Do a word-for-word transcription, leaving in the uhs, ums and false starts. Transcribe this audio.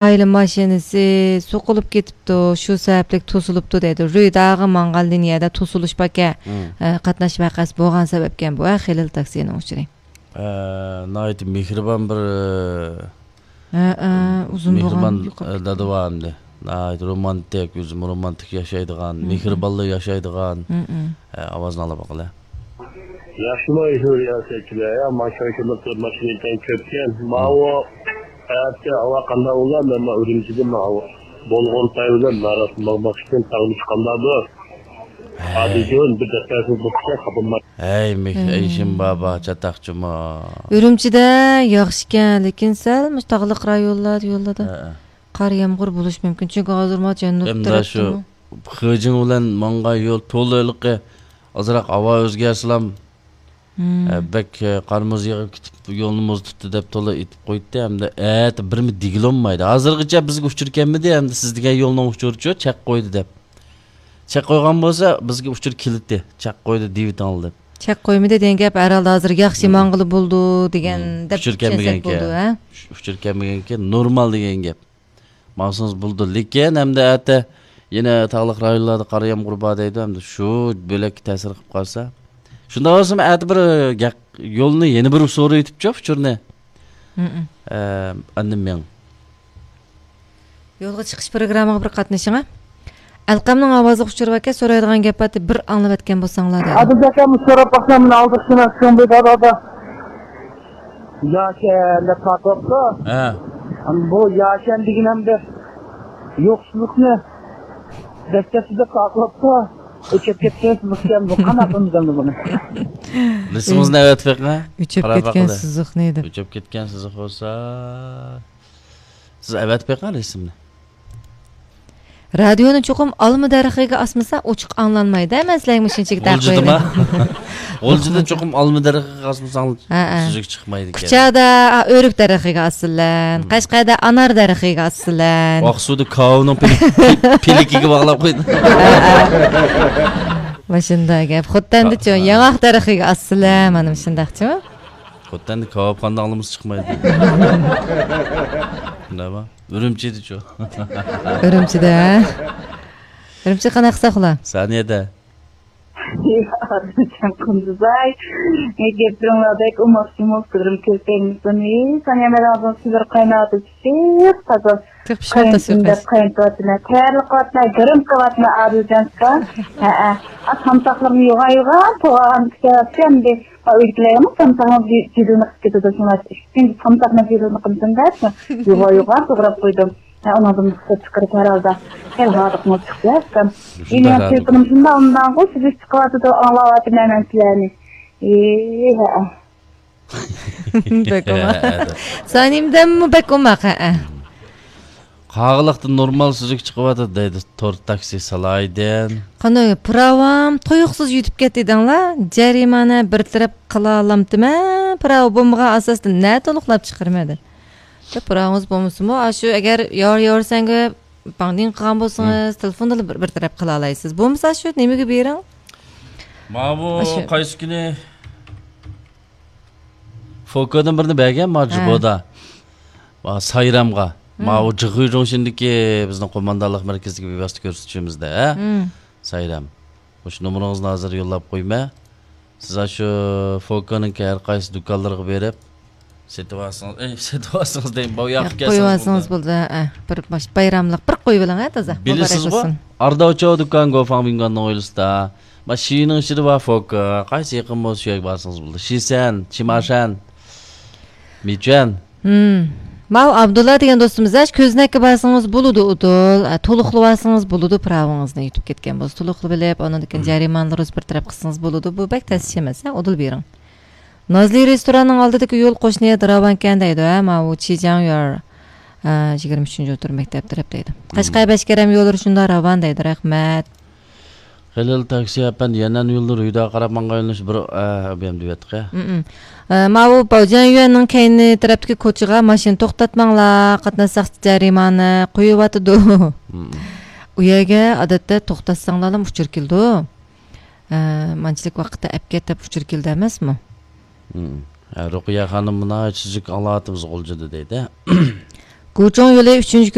ئائىلە ماشىنىسى سوقۇلۇپ كېتىپتۇ، شۇ سەۋەبلىك توسۇلۇپتۇ دەيدۇ. رۇيداغا ماڭغان لىنىيەدە توسۇلۇش باركەن، مم. ئە، قاتناش ۋەقەسى بولغان سەۋەبكەن بۇ، ئە، خېلىل تاكسىنىڭ ئۇچۇرى. ئە، ناھايىتى مېھرىبان بىر، ھە، ئە، ئۇزۇن بولغان مېھرىبان، يوقاپ ئە، كېتىپتۇ. دادا بار ئەمدى. ناھايىتى رومانتىك، ئۆزىمۇ رومانتىك ياشايدىغان، مم. مېھرىبانلا ياشايدىغان، مم. ئە، ئاۋازنى ئاڭلاپ باقىلى. ياخشىمۇ، ئېشۇ رىياسەتچىلەر، يا، ماشىنا كۆپ، ماشىنا ئىكەن كۆپكەن. ماۋۇ ئەتە ھاۋا قانداق بولار؟ مەن مانا ئۈرۈمچىدىن ماۋۇ بولغان پاي بىلەن ناراسىماق ئۈچۈن تاغمۇ چىققاندا بۇ. ھەي. ئادىجون بىر دەپتەرسىز بولسا خاپىماي. ھەي، مېھ-، ھەي. ئېشىم بابا، چاتاقچىما. ئۈرۈمچىدە ياخشىكەن، لېكىن سەل مۇشۇ تاغلىق رايونلار يوللىرىدا ھە. قار يامغۇر بولۇشى مۇمكىن. چۈنكى ھازىر ما جەنۇب ئەمدى شۇ تەرەپتىمۇ. خېجىڭ بىلەن ماڭغان يول تولا ھېلىقى ئازراق ھاۋا ئۆزگەرسىلام، مم. ئە، بەك، ئە، قار مۇز يېغىپ كېتىپ، يولنى مۇز تۇتتى دەپ تولا ئېيتىپ قويدى. ھەمدە ئەتە بىرمۇ دېگىلىمايدۇ. ھازىرغىچە بىزگە ئۇچۇر كەلمىدى، ھەمدە سىز دېگەن يولنىڭ ئۇچۇرىچۇ چەك قويدى دەپ. چەك قويغان بولسا، بىزگە ئۇچۇر كېلىتتى. چەك قويدى دېيىۋېتىڭلار دەپ. چەك قويمىدى دېگەن گەپ ھەر ھالدا ھازىر ياخشى مم. ماڭغىلى بولىدۇ دېگەن مم. دەپ ئۇچۇر چۈشەنسەك كەلمىگەنكەن. بولىدۇ، ھە؟ ئۇچۇر كەلمىگەنكەن، نورمال دېگەن گەپ. ماڭسىڭىز بولىدۇ. لېكىن ئەمدى ئەتە يەنە تاغلىق رايونلاردا قار يامغۇر بار دەيدۇ. ئەمدى شۇ بۆلەككە تەسىر قىلىپ قالسا. شۇنداق بولسىمۇ ئەتە بىر گەق-، يولنى يەنە بىر سورىۋېتىپچۇ ئۇچۇرنى. مم. ئە، ئاندىن مېڭ. يولغا چىقىش پروگراممىغا بىر قاتنىشىڭ، ھە. ئەلقەمنىڭ ئاۋازلىق ئۇچۇرى باركەن، سورايدىغان گەپ بار، بىر ئاڭلاۋەتكەن بولساڭلار دەيدۇ. ئادىل ئاكام سوراپ باقسام، مېنى ئالدىرىسىنا شۇڭبى دادا دا. ياشەن دەپ تارتىۋاپتۇ. ھە. بۇ ياشەن دېگىنەمدە يوقسۇزلۇقنى دەسسەپسىز دەپ تارتىۋاپتۇ. ئۆچۈپ كەتكەن سىزىقكەن بۇ، قانداق قىلىمىز ئەمدى بۇنى؟ رەسىمىڭىزنى ئەۋەتىپ بېقىڭ. ئۆچۈپ كەتكەن سىزىق نېدى؟ ئۆچۈپ كەتكەن سىزىق بولسا، سىز ئەۋەتىپ بېقىڭ رەسىمنى. رادىيونى چوقۇم ئالما دەرىخىگە ئاسمىسا، ئوچۇق ئاڭلانمايدۇ، ھە؟ مەن سىلەرگە مۇشۇنچىلىك تەقىر غۇلجىدىما؟ غۇلجىدا چوقۇم ئالما دەرىخىگە ئاسمىساڭلار، ھە، ھە. سۈزۈك چىقمايدىكەن. كۇچادا، ئا، ئۆرۈك دەرىخىگە ئاسىسىلەن. مم. قەشقەردە ئانار دەرىخىگە ئاسىسىلەن. ئاقسۇدا كاۋىنىڭ پىل-، پىل-، پىلىكىگە باغلاپ قويدۇم. ھە، ھە. مۇشۇنداق گەپ. خوتەندىچۇ، ھە، ھە. ياڭاق دەرىخىگە ئاسىسىلەن. مانا مۇشۇنداقچۇ؟ خوتەندە كاۋاپخانىدا ئاڭلىمىسا چىقمايدۇ. شۇنداقمۇ؟ ئۈرۈمچىدىچۇ؟ ئۈرۈمچىدە. ئۈرۈمچى قانداق قىلساق ئۇلار؟ سانىيەدە. ئادىلجان قۇندۇزاي، گەپلىرىڭلار بەك ئوماق جۇمۇ، قىزىم كۆرسەڭمىسۇن. سانىيە مەن ھازىر سىلەر قايناۋاتىدۇ، پىششىق تازا. تېخى پىشماي قاينىتىم دەپ قاينىتىۋاتىمەن، تەييارلىق قىلىۋاتىمەن، گىرىم قىلىۋاتىمەن ئادىلجان ئۇكا. ھەئە. ئا، سامساقلىرىمنى يوغان يوغان توغرىغان كۈتۈۋاتىمەن ئەمدى. ئا، ئۆيدىكىلەرمۇ سامساقنىڭ جىدىلىنى قىلىپ كېتىدۇ، شۇڭا ئىككىنچى سامساقنىڭ جىدىلىنى قىلمىسۇن دەپ، يوغان يوغان توغراپ قويدۇم. ھە، ئۇنىڭدىن رۇخسەت چىقىرىپ ھەر ھالدا. ھەي، ھاردۇقمۇ چىقتى ئۇكام. شۇنداق ئېنى ھاردۇق. تېلېفونۇم شۇنداق ئۇنداڭغۇ، سۈزۈك چىقىۋاتىدۇ، ئاڭلاۋاتىمەن مەن سىلەرنى. ئى، ھەئە. بەك ئوماق. سانىيەدىنمۇ بەك ئوماق، ھەئە. قاغىلىقتا نورمال سۈزۈك چىقىۋاتىدۇ دەيدۇ تور تاكسى سالاھىدىن. قانداق، پىراۋام تۇيۇقسىز يۈتۈپ كەتتى دەڭلار. جەرىمانە بىر تەرەپ قىلالامتىمەن؟ پىراۋا بولمىغان ئاساستا نە تولۇقلاپ چىقىرىمەن دە. پىراۋىڭىز بولمىسىمۇ، ئاشۇ ئەگەر يار يارسەڭگە باڭدىڭ قىلغان بولسىڭىز، تېلېفوندىلا بىر، بىر تەرەپ قىلالايسىز. بولمىسا شۇ نېمىگە بېرىڭ؟ ماۋۇ ئاشۇ قايسى كۈنى؟ فوكودىن بىرنى بەرگەن ما ھە. جۇبودا. ما سايرامغا. مم. ماۋۇ جىغۇيجۇڭشىندىكى بىزنىڭ قوماندانلىق مەركىزىدىكى بىۋاسىتە كۆرسىتىشىمىزدە، ھە؟ مم. سايرام. مۇشۇ نومۇرىڭىزنى ھازىر يوللاپ قويىمەن. سىز ئاشۇ فوكونىڭكى ھەر قايسى دۇكانلىرىغا بېرىپ، سېتىۋالسىڭىز، ئەي، سېتىۋالسىڭىز دەيمەن، باۋ ياققا كەلسىڭىز قويۇۋالسىڭىز بولدى. بولدى، ھە، بىر باش-، بايراملىق بىر قويۇۋېلىڭ، ھە، تازا. بىلىسىزغۇ؟ مۇبارەك بولسۇن. ئارداۋچاۋ دۇكان گوفاڭ بىڭگاننىڭ ھويلىسىدا. ما شىنىڭ ئىچىدە بار فوكا. قايسى يېقىن بولسا شۇ يەرگە بارسىڭىز بولدى. شىسەن، چىماشەن، مىچۈەن. ھىم. ماۋۇ ئابدۇللا دېگەن دوستىمىز، ھە، كۆزنەككە بارسىڭىز بولىدۇ، ئۇدۇل. ئە، تولۇقلىۋالسىڭىز بولىدۇ، پىراۋىڭىزنى يۈتۈپ كەتكەن بولسا. تولۇقلىۋېلىپ، ئانىڭدىن كېيىن ھىم. جەرىمانىلىرىڭىزنى بىر تەرەپ قىلسىڭىز بولىدۇ. بۇ بەك تەس ئىش ئەمەس، ھە، ئۇدۇل بېرىڭ. نازلى رېستوراننىڭ ئالدىدىكى يول قوشنا يەردە راۋانكەن دەيدۇ، ھە، ماۋۇ چىجياڭيۈەن، ئە، يىگىرمە ئۈچىنچى ئوتتۇرا مەكتەپ تەرەپ دەيدۇ. ھىم. قەشقەر بەشكەرەم يوللىرى شۇنداق راۋان دەيدۇ، رەھمەت. خېلىل تاكسى ئەپەندى، يەنئەن يوللىرى ھۈدەگە قاراپ ماڭغان يۆنىلىش بىر، ئە، ئوبيەم دېۋەتقە. مم. ئە، ماۋۇ باۋجيەنيۈەننىڭ كەينى تەرەپتىكى كوچىغا ماشىنا توختاتماڭلار، قاتناشساق جەرىمانە قويۇۋاتىدۇ. مم. ئۇ يەرگە ئادەتتە توختاتساڭلارلا ئۇچۇر كېلىدۇ. ئە، مانچىلىك ۋاقىتتا ئەپ كەت دەپ ئۇچۇر كېلىدۇ ئەمەسمۇ؟ مم. ھە، رۇقىيە خانىم، مۇناۋى سۈزۈك ئاڭلاۋاتىمىز غۇلجىدا دەيدۇ. گۇچۇڭ يولى ئۈچىنچى